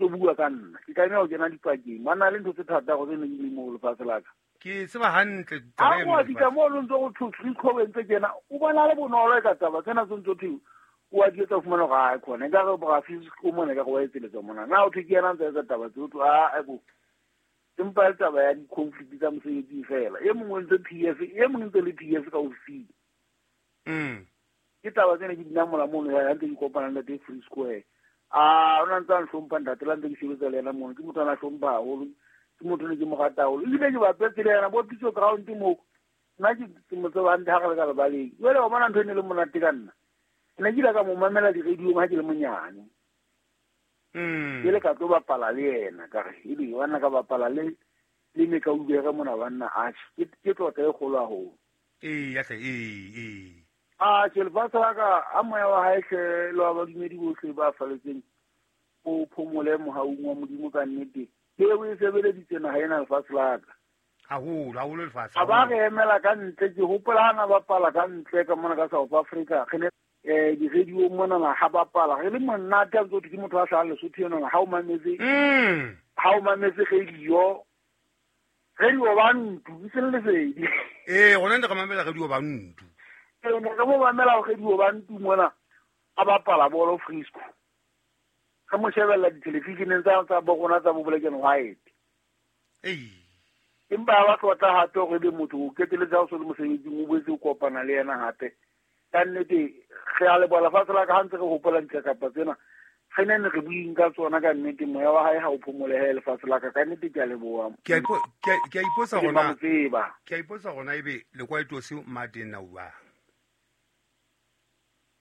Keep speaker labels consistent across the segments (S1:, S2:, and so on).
S1: ntse bua ka nna ke tlameha ho kena dipakeng ba na le ntho tse thata go tse ne di le mo lefatshe la ka
S2: ke tseba hantle
S1: a go fihla mo lo ntse go thwe Frisco ntse kena o bona le bonolo e ka taba tsena tse ntse thwe o a di etsa o fumana gore a khona nka re bra Frisco mona ka go wa etseletsa mona na o thwe ke yena ntse etsa taba tse o thwe a bo empa le taba ya di-conflict tsa mosebetsing fela e mongwe ntse PF e mongwe ntse le PF ka ofising ke taba tsene ke dinamola mono ya ntse ke kopana le ntate Free Square a o na ntse a ntlhompha ntate la ntse ke sebetsa le ena mono ke motho a na hlompha haholo ke motho ne ke mo rata haholo ebile ke bapetse le ena bo pitso ground mo nna ke mo tseba hantle ha re le ka lebaleng jwale wa bona ntho e ne le monate ka nna ke ne ke ile ka mo mamela di-radiong ha ke le monyane ke le ka tlo bapala le yena ka re ebe banna ka bapala le le mekaubere mona banna atjhe ke tlotla e kgolo haholo
S2: ee ya hle ee ee
S1: a ke lefatshe la ka a moya wa hae hle le wa badumedi bohle ba faletseng o phomole mohaung wa modimo ka nnete eo e sebeleditse naga ena lefatshe la ka
S2: haholo haholo lefatshe
S1: a ba re emela ka ntle ke hopola ha na bapala ka ntle ka mona ka South Africa re ne di-radio monana ha bapala re le monate a ntse ke motho a hlahang Lesotho enana ha o mametse ha o mametse radio radio ba ntlo e seng lesedi
S2: ee gona ne re mamela radio ba ntlo
S1: ee ne re mo mamela radio ba ntlo mona a bapala bolo Frisco re mo shebella dithelevisheneng tsa bo rona tsa bo black and white empa ba tlotla hape gore ebe motho o keteletse ha o so le mosebetsing o boetse o kopana le yena hape ka nnete re a leboha lefatshe la ka ha ntse re hopola dikakapa tsena re ne ne re buing ka tsona ka nnete moya wa hae ha o phomolehe lefatshe la ka ka nnete ke a leboha
S2: ke a ipotsa gona
S1: tseba
S2: ke a ipotsa gona ebe lekwaetose mateng na uba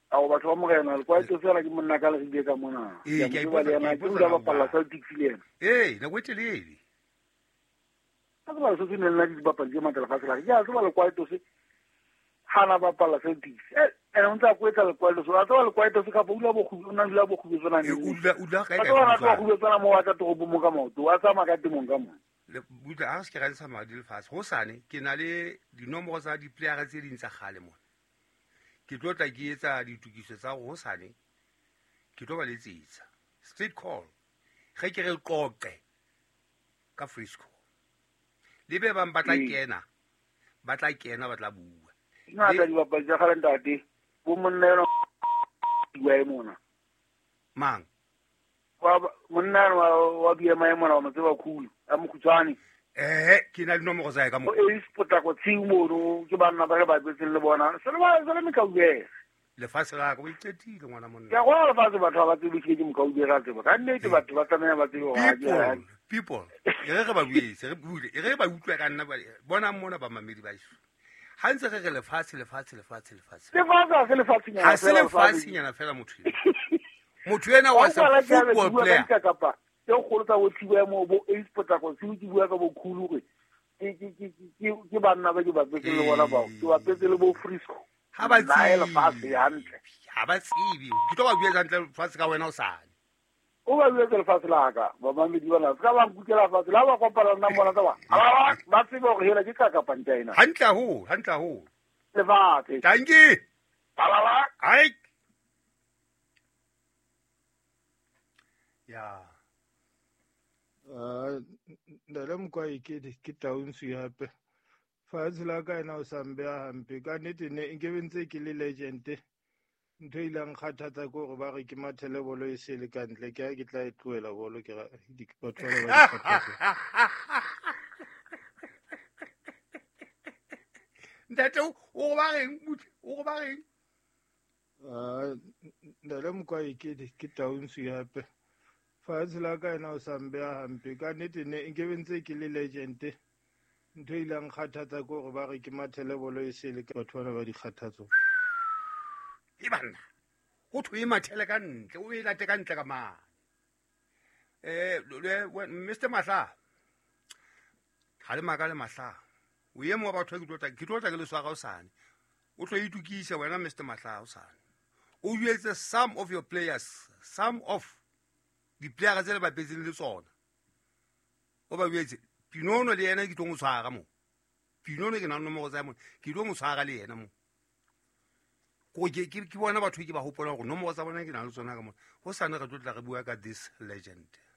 S1: ao batho ba morena lekwaetose fela ke monna ka le re ka mona
S2: ee ke a ipotsa
S1: le yena ke dula bapalla Celtics le yena
S2: ee nako e telele
S1: ka tseba Lesotho ne le na dibapadi tse matla lefatshe la ka ke a tseba lekwaetose ha na bapalla Celtics ene o ntse a kwetla lekwaetose a tseba lekwaetose kapa o dula o na dula bokgubetsana
S2: o dula kae
S1: a tseba na tloha kgubetsana mo wa tla toropong mo ka maoto a tsamaya ka temong ka mo
S2: butla a se ke ra ntsha madi lefatshe go sane ke na le dinomoro tsa di-playera tse ding tsa kgale mona ke tlo tla ke etsa ditokiso tsa go sane ke tlo ba letsetsa straight call ge ke re qoqe ka Frisco le be bang ba tla kena ba tla kena ba tla bua
S1: ngata dibapadi tsa kgale ntate bo monna ena wa e mona
S2: mang
S1: monna ena wa BMI mona wa mo tseba khulu a mokhutshwane
S2: ke na le nomoro tsa ka mo
S1: e potlako tshiu mono ke banna ba re ba betseng le bona se le ba se le mekaubere
S2: lefatshe la ka o iqetile ngwana monna
S1: ke go lefatshe batho ba tsebe ke mokaubere a tseba ka nnete batho ba tlameha ba tsebe
S2: gore people e re re ba buetse re bule e re ba utlwe ka nna bonang mona ba mamedi ba iso ha ntse re re lefatshe lefatshe lefatshe lefatshe
S1: lefatshe ha se lefatshenyana
S2: ha se lefatshenyana fela motho motho ena wa sa football player
S1: kapa tse kgolo tsa bo thiba mo bo ace potlako se ke bua ka bo khulu gore ke banna ba ke bapetse le bona bao ke bapetse le bo Frisco
S2: ha ba
S1: tsebe lefatshe hantle
S2: ha ba tsebe ke tlo ba buetsa hantle lefatshe ka wena o sane
S1: o ba buetse lefatshe la ka bamamedi bana se ka ba nkukela fatshe la ba kopana nna bona tsa ba ba tsebe gore hela ke ka kapantša ena
S2: hantle haholo hantle haholo
S1: lefatshe
S2: dankie
S1: balala
S2: ai ya
S3: ndale mokwai ke taunsu hape fatshe la ka ena o sa mbeya hampe ka nnete ne nkebe ntse ke le legend ntho e ileng kgathatsa ke gore ba re ke mathele bolo e sele ka ntle ke ha ke tla e tlohela bolo ke batho ba ba dikgathatso
S2: ntate o go ba reng o go ba reng
S3: ndale mokwai ke taunsu hape fatshe la ka ena o sa mbeya hampe ka nnete ne nkebe ntse ke le legend ntho e ileng kgathatsa ke gore ba re ke mathele bolo e sele batho bana ba dikgathatso
S2: e banna go thwe e mathele ka ntle o e late ka ntle ka mane Mr Mahla ga le maka le Mahla o ye mo batho ke tlo tla ke le swara o sane o tlo itukisa wena Mr Mahla o sane o jwetse some of your players some of di-playera tse le bapetseng le tsona o ba jwetse Pinono le yena ke tlo mo tshwara mo Pinono ke na le nomoro tsa mona ke tlo mo tshwara le yena mo ko ke bona batho ke ba hopola gore nomoro tsa bona ke na le tsona ka mona go sane re tlo tla re bua ka this legend.